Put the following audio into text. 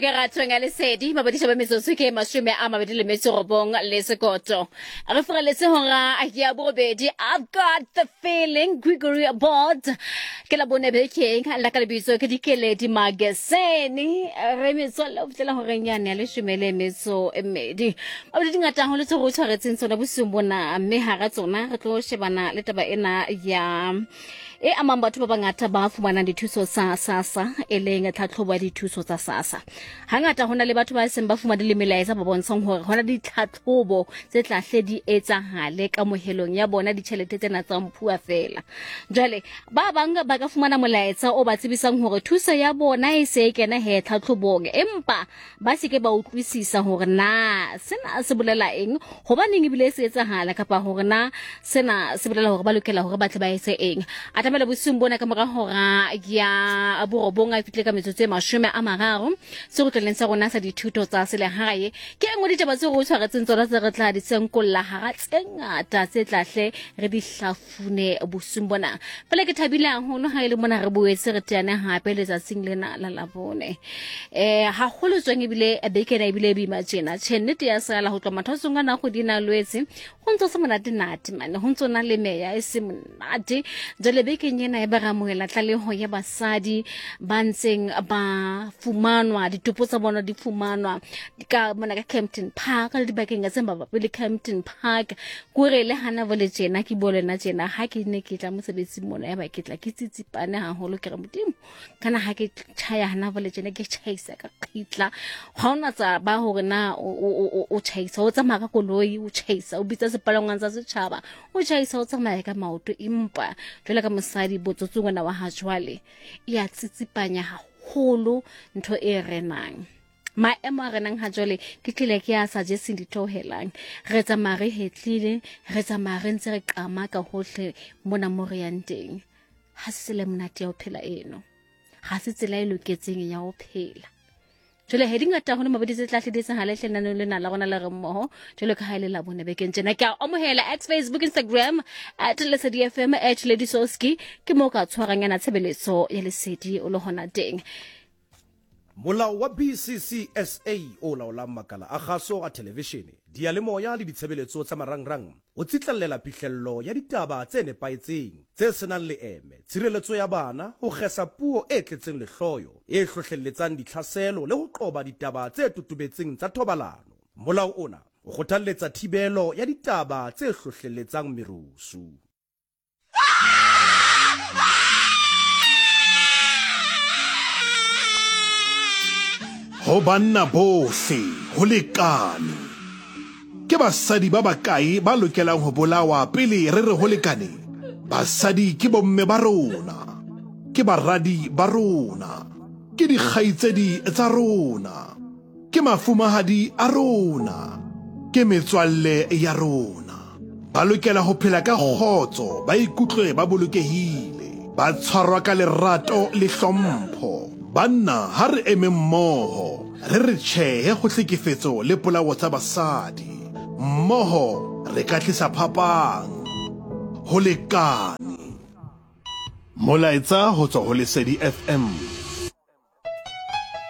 ke ratong ya lesedi mabadiša ba metsotso ke 29 le sekoto re furaletse hora ya borobedi. I've got the feeling, Gregory Aboard. Ke la bone bekeng la ka lebitso ke Dikeledi Mageseni. Re metswalle o fihlela horeng yane ya 12. Mabedi dingata haholo tse re o tshwaretseng tsona bosiung bona, mme hara tsona re tlo shebana le taba ena ya e amang batho ba bangata ba fumanang dithuso tsa SASSA, e leng tlhatlhobo ya dithuso tsa SASSA. Hangata ho na le batho ba seng ba fumane le melaetsa ba bontshang hore ho na le ditlhatlhobo tse tla hle di etsahale kamohelong ya bona ditjhelete tsena tsa mphuwa fela. Jwale ba bang ba ka fumana molaetsa o ba tsebisang hore thuso ya bona e se e kena he tlhatlhobong, empa ba se ke ba utlwisisa hore na sena se bolela eng, hobaneng ebile se etsahala, kapa hore na sena se bolela hore ba lokela hore ba tle ba etse eng. A tlamela bosiung bona ka mora hora ya 9 a fitlile ka metsotso e 30 sekgotleleng sa rona sa dithuto tsa selehae. Ke e nngwe ditaba tseo re o tshwaretseng tsona tse re tla di senkolla hara tse ngata tse tlahle re di hlafune bosiung bona. Fela ke thabile haholo ha e le mona re boetse re teane hape letsatsing lena la Labone. Haholo tswang ebile beke ena ebile e boima tjena. Tjhe, nnete ya sala ho tloha mathwasong a na kgwedi ena Lwetse. Ho ntso se monate nate mane, ho ntso na le meya e se monate. Jwale bekeng ena e ba re amohela tlaleho ya basadi ba ntseng ba fumanwa, ditopo tsa bona di fumanwa ka mona ka Kempton Park le dibakeng tse mabapi le Kempton Park. Kore le hana bole tjena ke bua le nna tjena, ha ke ne ke tla mosebetsing mona ya ba ke tla ke tsitsipane haholo, ke re Modimo kana ha ke tjhaya hana bole tjena ke tjhaisa ka qitla. Ha ona tsa ba hore na o tjhaisa o tsamaya ka koloi, o tjhaisa o bitsa sepalangwang sa setjhaba, o tjhaisa o tsamaya ka maoto, empa jwale ka mosadi botsotsing ona wa ha jwale e a tsitsipanya haholo ntho e renang. Maemo a renang ha jwale ke tlile ke a sa jeseng ditheohelang, re tsamaya re hetlile, re tsamaya re ntse re qama ka hohle mona mo re yang teng. Ha se tsela e monate ya ho phela eno, ha se tsela e loketseng ya ho phela. Jwale he dingata haholo mabedi tse tla hle di etsahale hle lenaneo lena la rona le re mmoho jwalo ka ha e le la bone bekeng tjena. Ke a amohela at Facebook, Instagram at Lesedi FM at Lady Soski, ke mo ka tshwarang yana tshebeletso ya Lesedi o le hona teng. Molao wa BCCSA o laolang makala a kgaso a thelevishene, diyalemoya le ditshebeletso tsa marangrang o tsitlallela phihlello ya ditaba tse nepahetseng, tse se nang leeme, tshireletso ya bana, ho kgesa puo e tletseng lehloyo, e hlohlelletsang ditlhaselo le ho qoba ditaba tse totobetseng tsa thobalano. Molao ona o kgothalletsa thibelo ya ditaba tse hlohlelletsang merusu. Ho banna bohle ho lekane. Ke basadi ba bakae ba lokelang ho bolawa pele re re ho lekane? Basadi ke bomme ba rona, ke baradi ba rona, ke dikgaitsedi tsa rona. Ke mafumahadi a rona, ke metswalle ya rona. Ba lokela ho phela ka kgotso, ba ikutlwe ba bolokehile, ba tshwarwa ka lerato le hlompho. Banna, ha re emeng mmoho, re re tjhehe ho hlekefetso le polao tsa basadi. Mmoho re ka tlisa phapang. Ho lekane. Molaetsa ho tswa ho Lesedi FM.